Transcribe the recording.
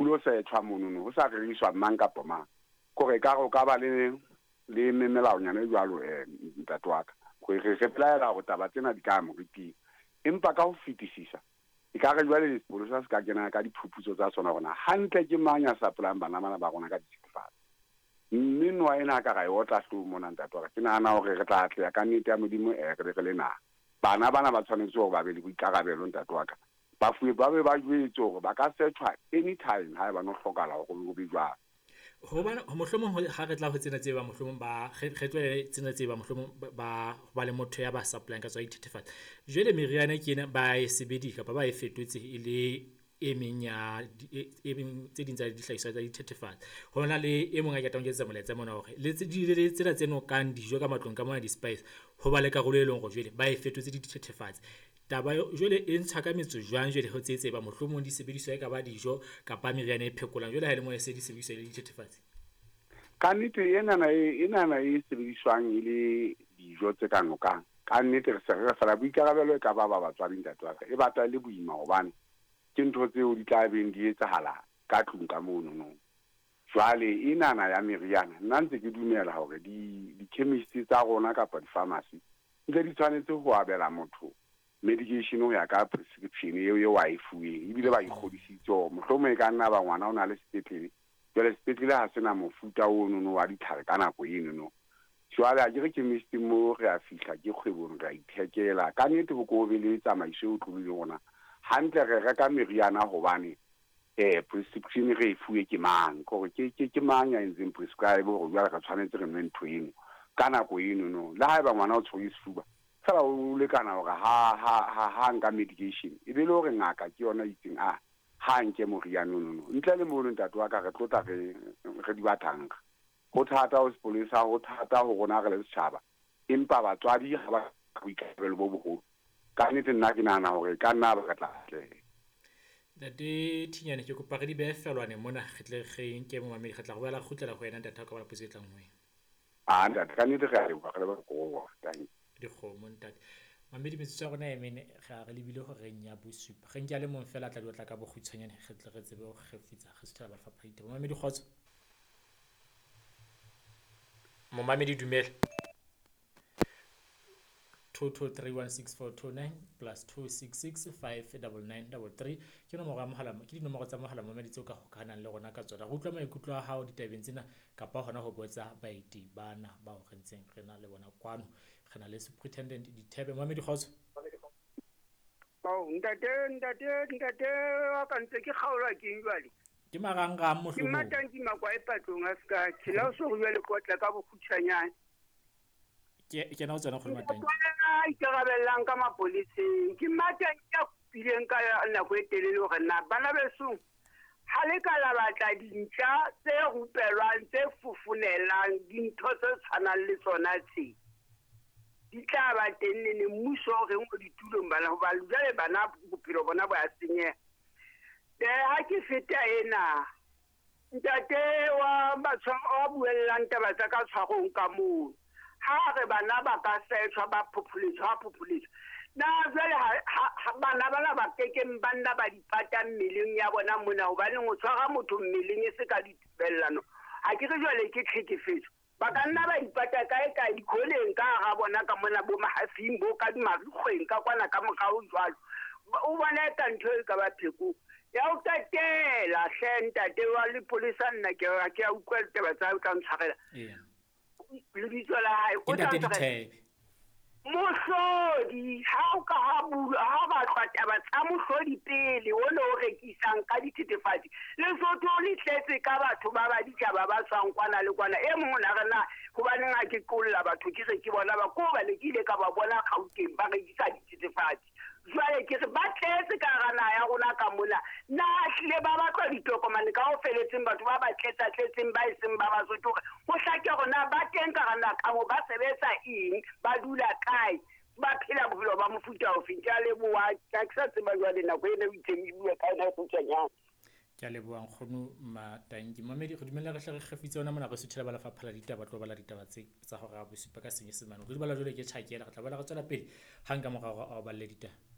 Ho lo setjhwa monono ho sa reriswa mang kapa mang. Kore ekare o ka ba le le melaonyana e jwalo ntate wa ka. Re re belaela hore taba tsena di ka ya moriting. Empa ka ho fetisisa ekare jwale sepolesa se ka kena ka diphuputso tsa sona hore na hantle ke mang ya sapolang bana bana ba rona ka dithethefatsi. Mme noa ena ha ka ra e otla hloohong mona ntate wa ka, ke nahana hore re tla atleha ka nnete ya Modimo re be re le naha. Bana bana ba tshwanetse hore ba be le boikarabelo ntate wa ka. Ba fuwe ba be ba jwetse hore ba ka searchwa anytime haeba no hlokahala hore ho be jwalo. Hobane mohlomong ha re tla ho tsena tse ba mohlomong ba re tlohele tsena tse ba mohlomong ba ba le motho ya ba supplying ka tswa dithethefatsi. Jwale meriana ke ena ba e sebedisa kapa ba e fetotse e le e meng ya e meng tse ding tsa dihlahiswa tsa dithethefatsi. Ho na le e mong a ketang ho ketsa molaetsa mona hore le tse di tsena tse nokang dijo ka matlong ka mona di-spice ho ba le karolo e leng hore jwale ba e fetotse dithethefatsi. Taba jwale e ntshwa ka metso jwang jwale ho tse tseba mohlomong di sebediswa e ka ba dijo kapa meriana e phekolang jwale ha e le mo e se di sebediswa le dithethefatsi. Ka nnete enana enana e sebediswang e le dijo tse ka nokang. Ka nnete re se re fela boikarabelo e ka ba ba batswadi ntate wa ka. E batla e le boima hobane ke ntho tseo di tla beng di etsahala ka tlung ka mono no. Jwale enana ya meriana nna ntse ke dumela hore di di-chemist tsa rona kapa di-pharmacy ntse di tshwanetse ho abela motho medication ho ya ka prescription eo eo a e fuweng ebile ba ikgodisitse hore mohlomong e ka nna ba ngwana o na le sepetlele jwale sepetlele ha sena mofuta ono no wa ditlhare ka nako eno no. Jwale ha ke re chemist mo re a fihla ke kgwebong re a ithekela ka nnete ho ko be le tsamaiso e otlolohileng rona hantle re reka meriana hobane prescription re e fuwe ke mang kore ke ke ke mang ya entseng prescribe hore jwale re tshwanetse re nwe ntho eno ka nako eno no. Le haeba ngwana o tshwere sefuba fela o lekana hore ha ha ha ha nka medication e be le hore ngaka ke yona e itseng a ha nke moriana ono no. Ntle le mono ntate wa ka re tlotla re re di batanga. Ho thata ho sepolesa, ho thata ho rona re le setjhaba, empa batswadi ha ba boikarabelo bo boholo. Ka nnete nna ke nahana hore ka nna ba re tla atleha. Ntate Thinyane ke kopa re di behe felwane mona re tle re nke momamedi re tla go boela re kgutlela ho wena ntate ha o ka ba le potso e tlang ho wena. Ah ntate ka nnete re a leboha re leboha kobo thank you. Dikgomo ntate. Mamedi metsotso ya rona e mene re a re lebile horeng ya bosupa. Re nke a le mong fela a tla di otla ka bokgutshwanyane re tle re tsebe ho kgefutsa re suthela ba lefapha la ditaba. Mamedi kgotso. Momamedi dumela. 22316429 plus 266 59933 ke nomoro ya mohala, ke dinomoro tsa mohala momamedi tseo ka hokahanang le rona ka tsona. Re utlwa maikutlo a hao ditabeng tsena kapa hona ho botsa baeti bana bao re ntseng re na le bona kwano. Re na le Superintendent Dithebe. Momamedi kgotso. Oh, ntate ntate ntate wa ka ntse ke kgaolwa ke eng jwale? Ke marangrang Ke mohlomong. Matanki Makwae patlong a ska tshela o so re jwale kotla ka bokgutshwanyane. Ke kena ho tsona kgolo Matanki. A ikarabellang ka mapoleseng. Ke Matanki a kopileng ka nako e telele hore na bana besong ha le ka la batla dintja tse rupelwang tse fofonelang dintho tse tshwanang le tsona tse di tla ba teng nene mmuso o reng o ditulong bana hoba jwale bana bophelo bona bo a senyeha. Ha ke feta ena ntate wa batho wa buellang taba tsa ka tshwarong ka moo ha re bana ba ka setshwa ba phopholetswa ha phopholetswa na jwale ha bana bana ba kekeng ba nna ba dipata mmeleng ya bona mona hobaneng o tshwara motho mmeleng e se ka ditubellano ha ke re jwale ke tlhekefetso. Ba ka nna ba ipata kae kae dikholeng ka hara bona ka mona bo mahafing bo ka dimarikgweng ka kwana ka morao jwalo. O bona eka ntho e ka ba pheko ya ho qetela hle ntate wa lepolesa nna ke a ke a utlwa ditaba tsa hao tla ntshwarela. Lebitso la hae o Ke tla ntate ntshwarela. Dithebe. Mohlodi ha o ka ha bulwa ha batlwa taba tsa mohlodi pele o no rekisang ka dithethefatsi. Lesotho le tletse ka batho ba ba ditjhaba ba tswang kwana le kwana. E mong o na re na hobaneng ha ke qolla batho ke re ke bona ba ko ba le ke ile ka ba bona Gauteng ba rekisa dithethefatsi. Jwale ke re ba tletse ka hara naha ya rona ka mona. Na hlile ba batlwa ditokomane ka ho feletseng batho ba ba tletsa tletseng ba e seng ba Basotho hore ho hlake hore na ba teng ka hara naha ka moo, ba sebetsa eng, ba dula kae, ba phela bophelo ba mofuta ofe. Ke a leboha, ha ke sa tseba jwale nako ena o itseng e bua ka yona e kgutshwanyane. Ke a leboha nkgono Matanki. Mamedi re dumella re hle re kgefutse hona mona re suthela ba lefapha la ditaba tlo bala ditaba tse tsa hora ya bosupa ka Senyesemane. Re di bala jwale ke tjhakela re tla bala re tswela pele hang ka morao a o balle ditaba.